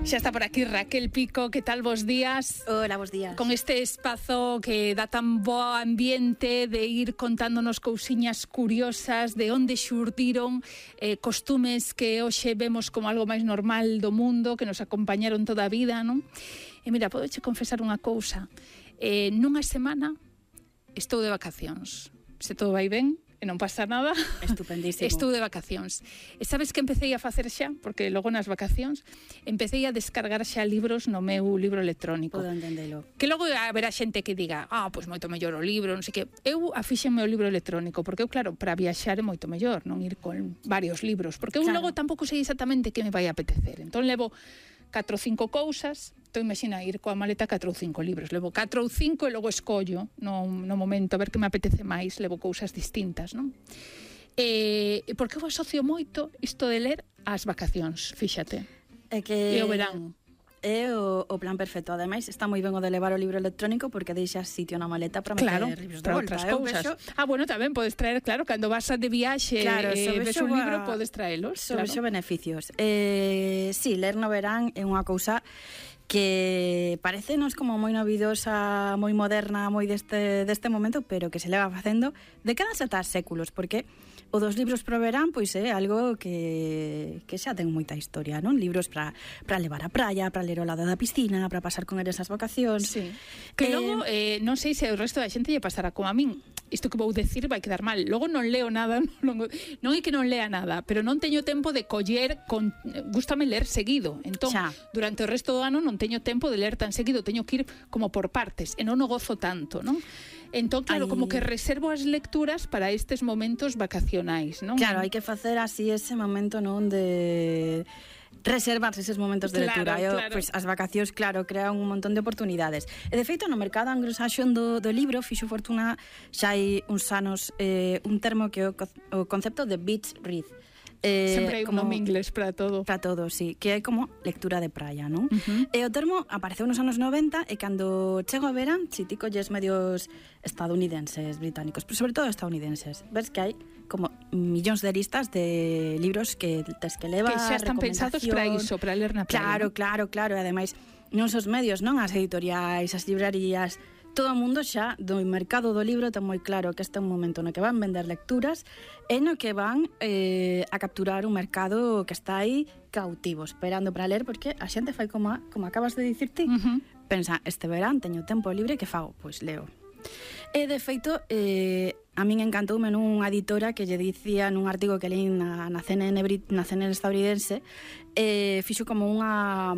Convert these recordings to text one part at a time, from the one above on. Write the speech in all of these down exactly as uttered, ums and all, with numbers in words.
Xa está por aquí Raquel Pico, que tal vos días? Hola, bos días. Con este espazo que dá tan bo ambiente de ir contándonos cousiñas curiosas de onde xurdiron eh, costumes que hoxe vemos como algo máis normal do mundo, que nos acompañaron toda a vida, non? E mira, podoche confesar unha cousa. Eh, nunha semana estou de vacacións. Se todo vai ben, e non pasa nada, estupendísimo. Estou de vacacións. E sabes que empecé a facer xa? Porque logo nas vacacións empecé a descargar xa libros no meu libro electrónico. Podo entendelo. Que logo haberá xente que diga, ah, pois moito mellor o libro, non sei que. Eu afixen o meu libro electrónico, porque eu, claro, para viaxar é moito mellor, non ir con varios libros, porque eu claro. Logo tampouco sei exactamente que me vai apetecer. Entón levo catro ou cinco cousas. Entón, imagina, ir coa maleta catro ou cinco libros. Levo catro ou cinco e logo escollo no, no momento a ver que me apetece máis. Levo cousas distintas, non? E, porque eu asocio moito isto de ler ás vacacións, fíxate. É que... E o verán. É o, o plan perfecto. Ademais, está moi ben o de levar o libro electrónico porque deixas sitio na maleta para meter claro, libros de para volta. Outras cousas. Vexo... Ah, bueno, tamén podes traer, claro, cando vas de viaxe claro, e ves un a... libro, podes traelos. Sobre claro. Xo beneficios. Eh, sí, ler no verán é unha cousa que parecenos como moi novidosa, moi moderna, moi deste, deste momento, pero que se leva facendo décadas ata séculos, porque o dos libros pro verán pois é algo que, que xa ten moita historia, non? Libros para para levar á praia, para ler ao lado da piscina, para pasar con eles as vacacións. Sí. Que eh, logo, eh, non sei se o resto da xente lle pasará como a min. Isto que vou decir vai quedar mal. Logo non leo nada, non, non é que non lea nada, pero non teño tempo de coller, con, gústame ler seguido. Entón, xa. Durante o resto do ano non teño tempo de ler tan seguido, teño que ir como por partes, e non o gozo tanto, non? Entón, claro, Ay. como que reservo as lecturas para estes momentos vacacionais, non? Claro, hai que facer así ese momento, non, de reservarse eses momentos de lectura. Claro, claro. Pois, as vacacións, claro, crean un montón de oportunidades. E, de feito, no mercado anglosaxón do, do libro, fixo fortuna xa hai uns anos eh, un termo que é o, o concepto de beach read. Eh, Sempre hai un nome inglés para todo. Para todo, sí, que é como lectura de praia, non? Uh-huh. E o termo apareceu nos anos noventa e cando chego a verán, si ti colles medios estadounidenses, británicos, pero sobre todo estadounidenses, ves que hai como millóns de listas de libros que tes que levar, que xa están pensados para iso, para ler na praia. Claro, claro, claro, e ademais non os medios, non as editoriais, as librarías, todo o mundo xa do mercado do libro ten moi claro que este é un momento no que van vender lecturas e no que van eh, a capturar un mercado que está aí cautivo, esperando para ler, porque a xente fai como, a, como acabas de dicir ti. Uh-huh. Pensa, este verán teño tempo libre, que fago? Pois leo. E, de feito, eh, a min encantoume nunha editora que lle dicía nun artigo que leí na, na, C N N, na C N N estadounidense, eh, fixo como unha...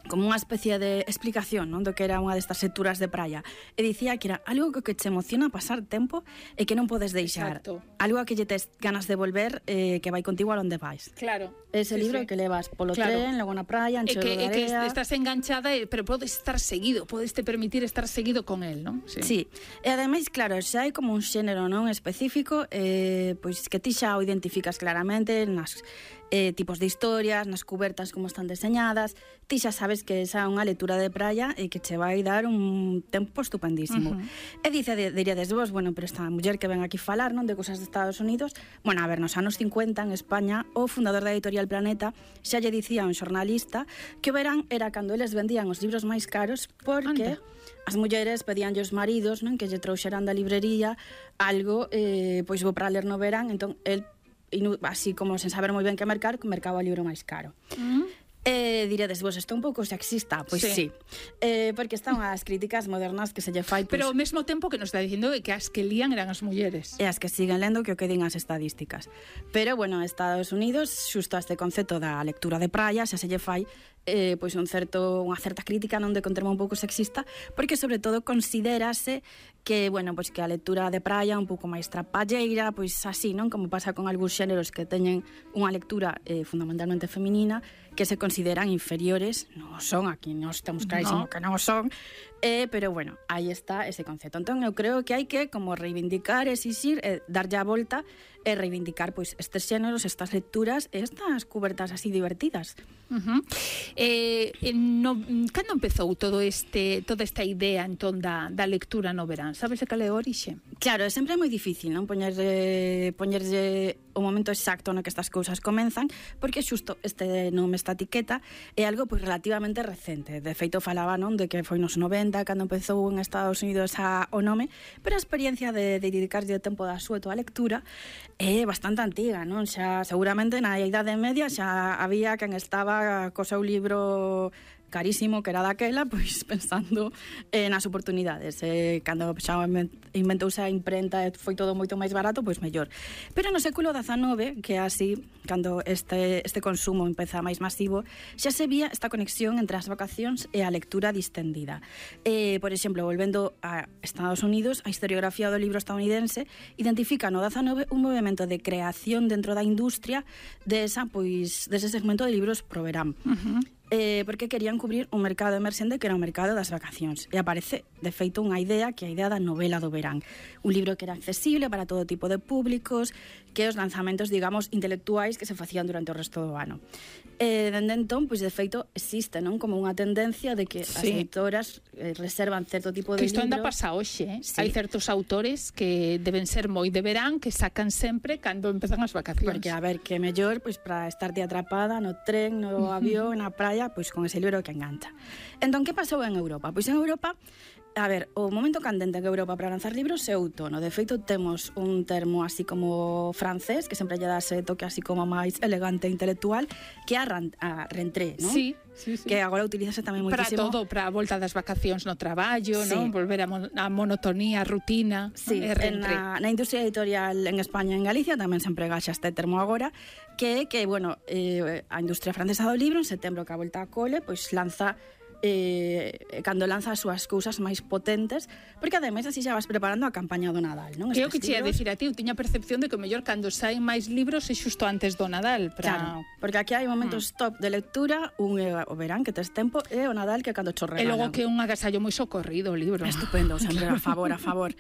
como unha especie de explicación, non, do que era unha destas lecturas de praia. E dicía que era algo que te emociona pasar tempo e que non podes deixar. Exacto. Algo a que lle tes ganas de volver eh, que vai contigo a onde vais. Claro. Ese sí, libro sí. que levas polo claro. tren, logo na praia, en e que, de e que estás enganchada, pero podes estar seguido, podes te permitir estar seguido con él, non? Sí. sí. E ademais, claro, xa hai como un xénero non específico, eh, pois que ti xa o identificas claramente nas eh, tipos de historias, nas cubertas como están deseñadas. Ti xa sabes que esa é unha lectura de praia e que che vai dar un tempo estupendísimo. Uh-huh. E dice, diríades vos, bueno, pero esta muller que ven aquí falar, non, de cosas de Estados Unidos, bueno, a ver, nos anos cincuenta en España, o fundador da editorial Planeta xa lle dicía a un xornalista que o verán era cando eles vendían os libros máis caros porque Anda. as mulleres pedían aos maridos, non, que lle trouxeran da librería algo eh, pois bo para ler no verán, entón el así como sen saber moi ben que mercar, mercaba o libro máis caro. Uh-huh. Eh, diredes vos, isto é un pouco sexista? Pois sí, sí. Eh, porque están as críticas modernas que se lle fai, pero ao mesmo tempo que nos está dicindo que as que lían eran as mulleres e as que siguen lendo que o que din as estadísticas. Pero bueno, Estados Unidos xusto este concepto da lectura de praia xa se lle fai eh, pois un certo, unha certa crítica, non, de contermo un pouco sexista, porque sobre todo considérase que, bueno, pois que a lectura de praia un pouco máis trapalleira, pois así, non, como pasa con algúns xéneros que teñen unha lectura eh, fundamentalmente feminina, que se consideran inferiores. Non son, aquí nos temos clarísimo no. que non son, eh, pero bueno, aí está ese concepto. Entón eu creo que hai que como reivindicar, exixir, eh, darlle a volta e reivindicar pois estes xéneros, estas lecturas e estas cubertas así divertidas. Uh-huh. Eh, no, cando empezou todo este toda esta idea entón da, da lectura no verán? Sabes cal é a orixe? Claro, sempre é moi difícil, non? Poñerlle, poñerlle o momento exacto no que estas cousas comenzan, porque xusto este nome, esta etiqueta, é algo pois relativamente recente. De feito, falaba, non, de que foi nos noventa cando empezou en Estados Unidos a, o nome, pero a experiencia de, de dedicarlle o tempo da súa a lectura é bastante antiga, non? Xa seguramente na Idade Media xa había quen estaba co seu libro carísimo que era daquela, pois pensando eh, nas oportunidades. Eh, cando xa inventouse a imprenta e foi todo moito máis barato, pois mellor. Pero no século dezanove, que é así, cando este, este consumo empeza máis masivo, xa se vía esta conexión entre as vacacións e a lectura distendida. Eh, por exemplo, volvendo a Estados Unidos, a historiografía do libro estadounidense identifica no dezanove un movimento de creación dentro da industria de esa, pois, dese segmento de libros pro verán. Uh-huh. Eh, porque querían cubrir un mercado emerxente que era o mercado das vacacións. E aparece, de feito, unha idea que é a idea da novela do verán. Un libro que era accesible para todo tipo de públicos, que os lanzamentos, digamos, intelectuais que se facían durante o resto do ano. E, dende entón, pois, de feito, existe, non? Como unha tendencia de que sí. as editoras eh, reservan certo tipo de libros. Que isto libros. anda pasa hoxe, eh? Sí. Hai certos autores que deben ser moi de verán, que sacan sempre cando empezan as vacacións. Porque, a ver, que mellor, pois, para estarte atrapada no tren, no avión, na praia, pois con ese libro que engancha. Entón, que pasou en Europa? Pois en Europa, a ver, o momento candente en Europa para lanzar libros é outono. De feito, temos un termo así como francés, que sempre lle dá ese toque así como máis elegante e intelectual, que é a, a rentrée, non? Sí, sí, sí. Que agora utilizase tamén moitísimo. Para todo, para a volta das vacacións no traballo, sí. non? Volver a, mon a monotonía, a rutina. Sí, en na, na industria editorial en España e en Galicia tamén se emprega xa este termo agora, que é que, bueno, eh, a industria francesa do libro en setembro que a volta a cole, pois lanza eh, cando lanza as súas cousas máis potentes, porque ademais así xa vas preparando a campaña do Nadal, non? Que o que che ia decir a ti, eu tiña percepción de que o mellor cando saen máis libros é xusto antes do Nadal. Para... Claro, porque aquí hai momentos mm. top de lectura, un é o verán que tes tempo e o Nadal que cando cho regalan. E logo que é un agasallo moi socorrido o libro. Estupendo, sempre a favor, a favor.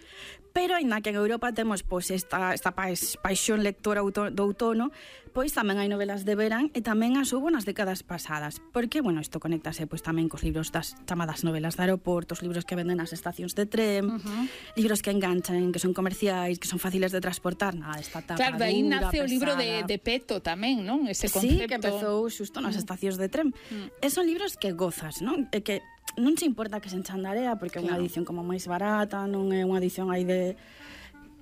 Pero ainda que en Europa temos pois esta esta paixón lectora do outono, pois tamén hai novelas de verán e tamén as hubo nas décadas pasadas, porque, bueno, isto conéctase pois tamén cos libros das chamadas novelas de aeroporto, os libros que venden nas estacións de tren, uh-huh. libros que enganchan, que son comerciais, que son fáciles de transportar, nada, esta tapa claro, de aí dura, nace pesada. O libro de, de Peto tamén, non? Ese concepto. Sí, que empezou xusto nas estacións de tren. Uh-huh. E son libros que gozas, non? E que non se importa que se enchandarea, porque é unha edición como máis barata, non é unha edición aí de...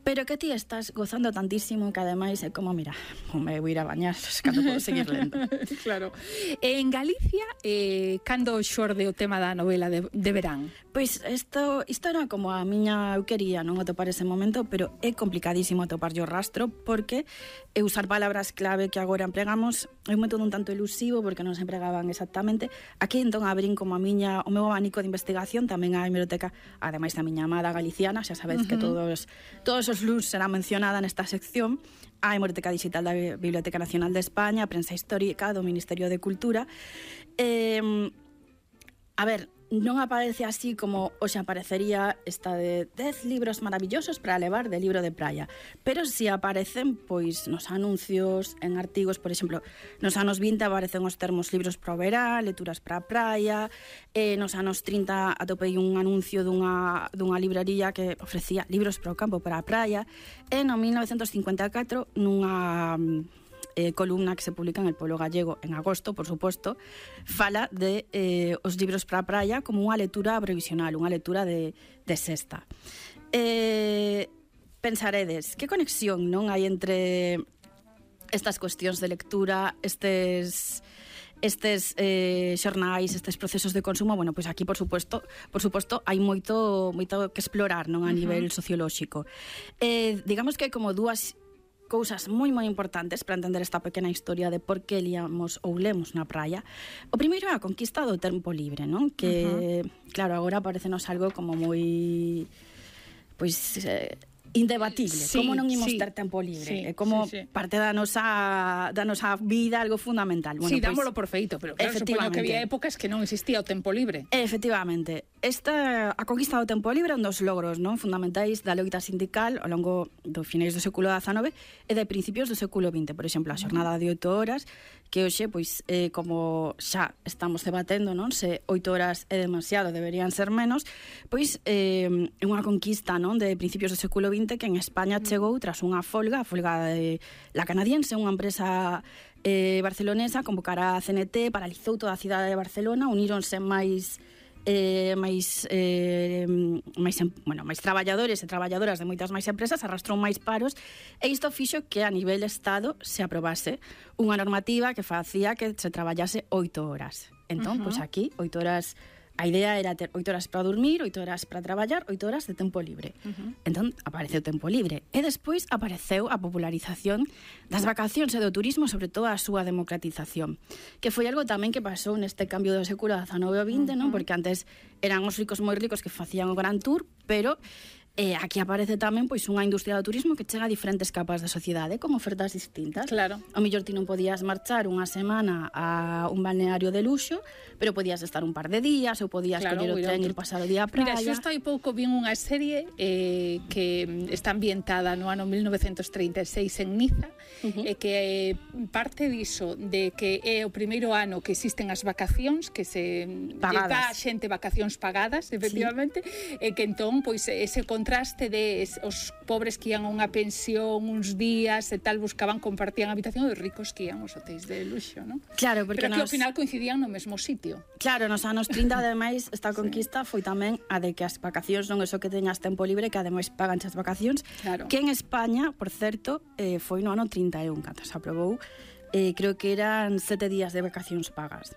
Pero que ti estás gozando tantísimo que ademais é como, mira, me vou ir a bañar cando podo seguir lendo. Claro. En Galicia, eh, cando xorde o tema da novela de, de verán? Pois isto, isto era como a miña, eu quería non atopar ese momento, pero é complicadísimo atopar o rastro, porque é usar palabras clave que agora empregamos é un método un tanto elusivo, porque non se empregaban exactamente. Aquí entón abrín como a miña, o meu abanico de investigación, tamén a hemeroteca, ademais da miña amada galiciana, xa sabedes uh-huh. que todos todos os luns será mencionada nesta sección, a hemeroteca digital da Biblioteca Nacional de España, a prensa histórica do Ministerio de Cultura. Eh, a ver, non aparece así como hoxe aparecería esta de dez libros maravillosos para levar de libro de praia, pero si aparecen pois nos anuncios, en artigos, por exemplo, nos anos vinte aparecen os termos libros para o verán, lecturas para a praia, e nos anos trinta atopei un anuncio dunha, dunha librería que ofrecía libros para o campo, para a praia, e no mil novecentos cincuenta e catro nunha Eh, columna que se publica en El Pueblo Gallego en agosto, por suposto, fala de eh, os libros para a praia como unha lectura provisional, unha lectura de, de sexta. Eh, pensaredes, que conexión non hai entre estas cuestións de lectura, estes estes eh, xornais, estes procesos de consumo? Bueno, pois aquí, por suposto, por suposto, hai moito moito que explorar, non, a uh-huh. nivel sociolóxico. Eh, digamos que hai como dúas cousas moi moi importantes para entender esta pequena historia de por que líamos ou lemos na praia. O primeiro é a conquista do tempo libre, non? Que, uh-huh. claro, agora parecenos algo como moi pois eh, indebatible, sí, como non imos sí, ter tempo libre, sí, é como sí, sí. parte da nosa, da nosa vida algo fundamental. Bueno, sí, dámolo pues, por feito, pero claro, supoño que había épocas que non existía o tempo libre. Efectivamente, esta, a conquista do tempo libre é un dos logros non fundamentais da loita sindical ao longo do finais do século dezanove e de principios do século vinte, por exemplo, a xornada de oito horas, que hoxe, pois, eh, como xa estamos debatendo, non, se oito horas é demasiado, deberían ser menos, pois é eh, unha conquista, non, de principios do século vinte que en España chegou tras unha folga, a folga de la canadiense, unha empresa eh, barcelonesa, convocara a C N T, paralizou toda a cidade de Barcelona, uníronse máis eh, máis, eh, máis, bueno, máis traballadores e traballadoras de moitas máis empresas, arrastrou máis paros, e isto fixo que a nivel Estado se aprobase unha normativa que facía que se traballase oito horas. Entón, uh -huh. pois aquí, oito horas... A idea era ter oito horas para dormir, oito horas para traballar, oito horas de tempo libre. Uh -huh. Entón, apareceu o tempo libre. E despois apareceu a popularización das vacacións e do turismo, sobre todo a súa democratización. Que foi algo tamén que pasou neste cambio do século dezanove ao vinte, uh -huh. non? Porque antes eran os ricos moi ricos que facían o Gran Tour, pero... Eh, aquí aparece tamén pois unha industria do turismo que chega a diferentes capas da sociedade con ofertas distintas. Claro. A mellor ti non podías marchar unha semana a un balneario de luxo, pero podías estar un par de días ou podías claro, coller o tren e ir pasar o día a praia. Mira, xusto hai pouco vin unha serie eh, que está ambientada no ano mil novecentos treinta e seis en Niza, uh -huh. e que parte diso de que é o primeiro ano que existen as vacacións, que se pagadas. Dá a xente vacacións pagadas, efectivamente, sí. E que entón, pois, ese contraste de os pobres que ian a unha pensión uns días e tal, buscaban, compartían habitación, e os ricos que ian aos hotéis de luxo, non? Claro, porque pero que nos... ao final coincidían no mesmo sitio. Claro, nos anos trinta, ademais, esta conquista sí. foi tamén a de que as vacacións non é só que teñas tempo libre, que ademais pagan as vacacións, claro. Que en España, por certo, eh, foi no ano trinta e un, cando se aprobou, eh, creo que eran sete días de vacacións pagas.